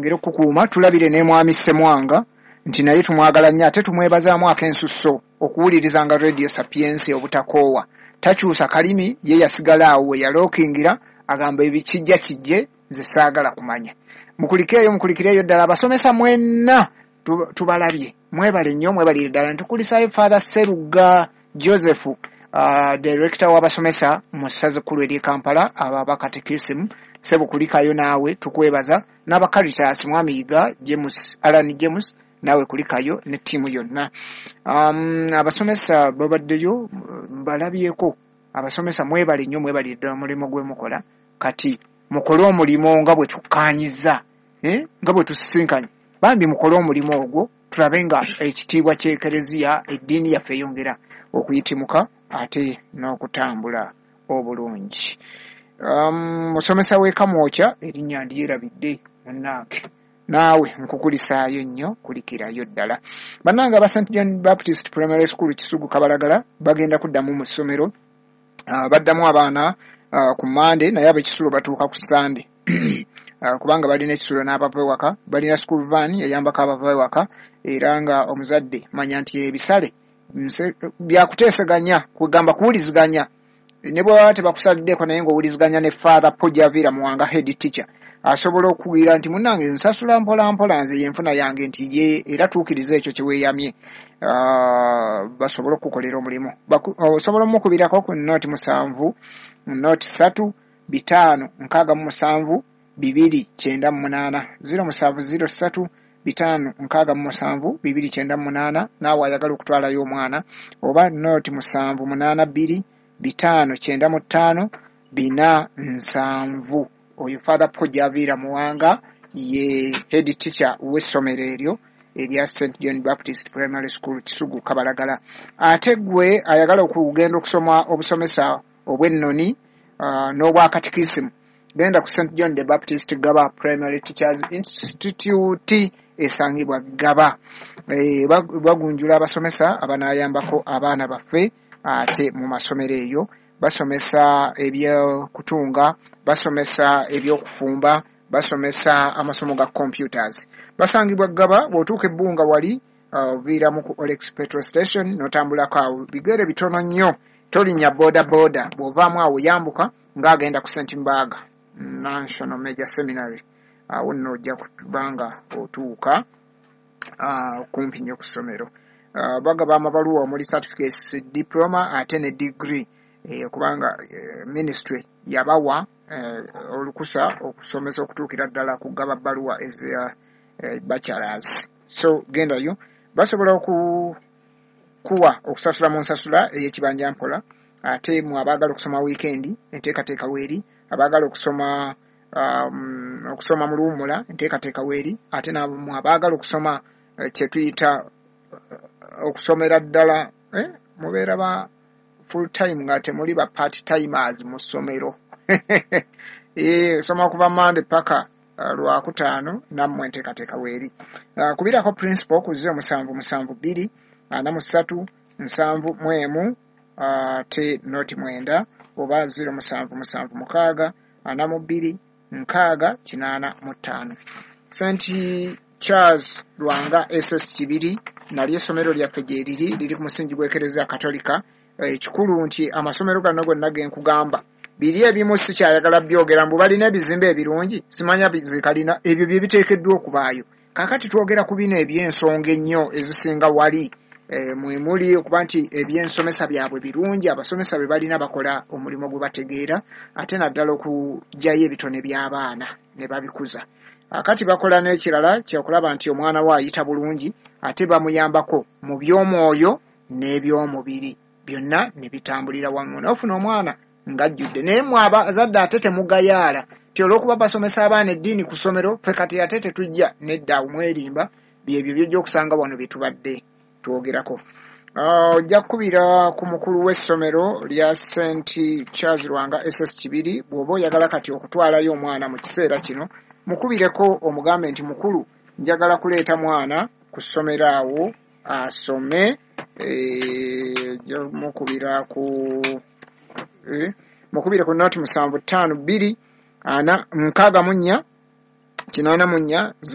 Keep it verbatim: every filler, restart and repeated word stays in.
Ngeri okukuuma tulabire ne Mwami Ssemwanga nti naye tumwagala nnyo, ate tumwebazaamu ak'ensusso okuwulirizanga Radio Sapientia obutakoowa. Takyusa kalimi, ye yasigala awo we yalookingira, agamba ebikijja kijje, nze saagala kumanya. Mukulikeeyo, mukulikireeyo ddala abasomesa mwenna, tubalabye, mwebale nnyo, mwebalire ddala. Ntukulisaayo Father Sseruga Joseph, uh, director w'abasomesa mu ssaza ekkulu ery'e Kampala, abo abakatekisimu, ssebo kulikayo naawe, tukwebaza. N'aba Caritas, Mwami Yiga James, Alan James, naawe kulikayo ne ttiimu yonna. um, abasomesa babaddeyo, mbalabyeko. Abasomesa mwebale nnyo, mwebalire ddala omulimu gwe mukola. Kati mukole omulimu nga bwe tukkaanyizza, eh? nga bwe tusisinkanye, bambi mukole omulimu ogwo, tulabe nga ekitiibwa ky'Ekereziya, eddiini yaffe eyongera okuyitimuka ate n'okutambula obulungi. um, musomesa w'e Kamwokya, erinnya ndyerabidde, munnange, naawe nkukulisaayo nnyo, kulikirayo ddala. Bannange aba Saint John Baptist Primary School Kisugu Kabalagala bagenda kuddamu mu ssomero, uh, baddamu abaana uh, ku Mande, naye ab'ekisulo batuuka ku Sande uh, kubanga balina ekisulo n'abava ewaka, balina school van eyambako abava ewaka. Era nga omuzadde manya nti ebisale byakuteeseganya, kugamba kuwuliziganya, ne bwe baba tebakusaliddeko, naye ng'owuliziganya ne Father Pojavira Muwanga, head teacher, asobola okuwulira nti munnange nsasula mpola mpola, nze yenfuna yange, nti ye era tuukiriza ekyo kye weeyamye, uh, basobole okukukolera omulimu. Osobola omukubirako ku nooti musanvu nooti ssatu bitaano nkaaga mu musanvu bibiri kyenda mu munaana, ziro musanvu ziro ssatu bitaano nkaaga mu musanvu bibiri kyenda mu munaana, naawe ayagala okutwalayo omwana, oba nooti musanvu munaana bbiri bitaano kyenda mu ttaano bina nsanvu. Oyo Father Pojaviira Muwanga ye head teacher w'essomero eryo erya Saint John Baptist Primary School Kisugu Kabalagala. Ate gwe ayagala okugenda okusoma obusomesa obw'ennoni uh, n'obwakatikisimu, genda ku Saint John the Baptist Gaba Primary Teachers Institute esangibwa Gaba. E, bagunjula abasomesa abanaayambako abaana baffe ate mu masomero eyo. Basomesa ebyokutunga, basomesa ebyokufumba, basomesa amasomo ga computers. Basangibwa Gaba. Bw'otuuka ebbunga wali oviiramu uh, ku Olex petrol station n'otambulako awo bigere bitono nnyo, tolinnya boda boda. Bw'ovaamu awo yambuka ng'agenda ku Saint Mbaga National Major Seminary, awo nno ojja kubanga otuuka uh, kumpi nnyo ku ssomero. uh, bagaba amabaluwa omuli certificates, diploma ate ne degree, eh, kubanga eh, ministry yabawa eh, olukusa okusomesa okutuukira ddala kugaba bbaluwa eza eh, bachelors. So gendayo, basobola okukuwa okusasula mu nsasula ey'ekibanja mpola. Ate mu abaagala okusoma weekend, enteekateeka weeri. Abaagala okusoma um, okusoma mu luwummula, enteekateeka weeri. Ate mu abaagala okusoma eh, kyetuyita uh, okusomera ddala, eh, mubeera ba full time nga temuli ba part timers mu ssomero, eh, soma kuva Mande paka uh, Lwakutaano, nammwe enteekateeka weeri. uh, kubirako principal ku zero musanvu musanvu bbiri ana mu ssatu nsanvu mu emu ate uh, noti mwenda, oba zero musanvu musanvu mukaaga ana mu bbiri nkaaga kinaana mu ttaano. Saint Charles Lwanga S S Kibiri nalyo essomero lyaffe gye riri, liri ku musingi gw'Ekereziya Katolika. Ekikulu nti amasomero gano gonna ge nkugamba biri ebimu sikyayagala byogera, mbu balina ebizimbe ebirungi, simanya zikalina, ebyo bye biteekeddwa okubaayo. Kaakati twogera ku bino eby'ensonga ennyo ezisinga wali, e, mwe muli okuba nti ebyensomesa byabwe birungi, abasomesa be balina bakola omulimu gwe bategeera, ate naddala okuggyayo ebitone by'abaana ne babikuza. Akati bakola n'ekirala kyokulaba nti omwana we ayita bulungi, ate bamuyambako mu by'omwoyo n'eby'omubiri byonna ne bitambulira wamu, n'ofuna omwana ng'ajjudde. Naye mmwe abazadde ate temugayaala ti olw'okuba basomesa abaana eddiini ku ssomero, ffe kati ate tetujja nedda, awo mwerimba. Byebyo byojja okusanga wano bye tubadde twogerako. Ojja kukubira ku mukulu w'essomero lya Saint Charles Lwanga S S Kibiri bw'oba oyagala kati okutwalayo omwana mu kiseera kino, mukubireko omugambe nti mukulu, njagala kuleeta mwana ku ssomero awo asome. Eh, mukubira ku eh, mukubire ku noti musanvu ttaano bbiri ana nkaaga mu nnya Kinaana mu nnya.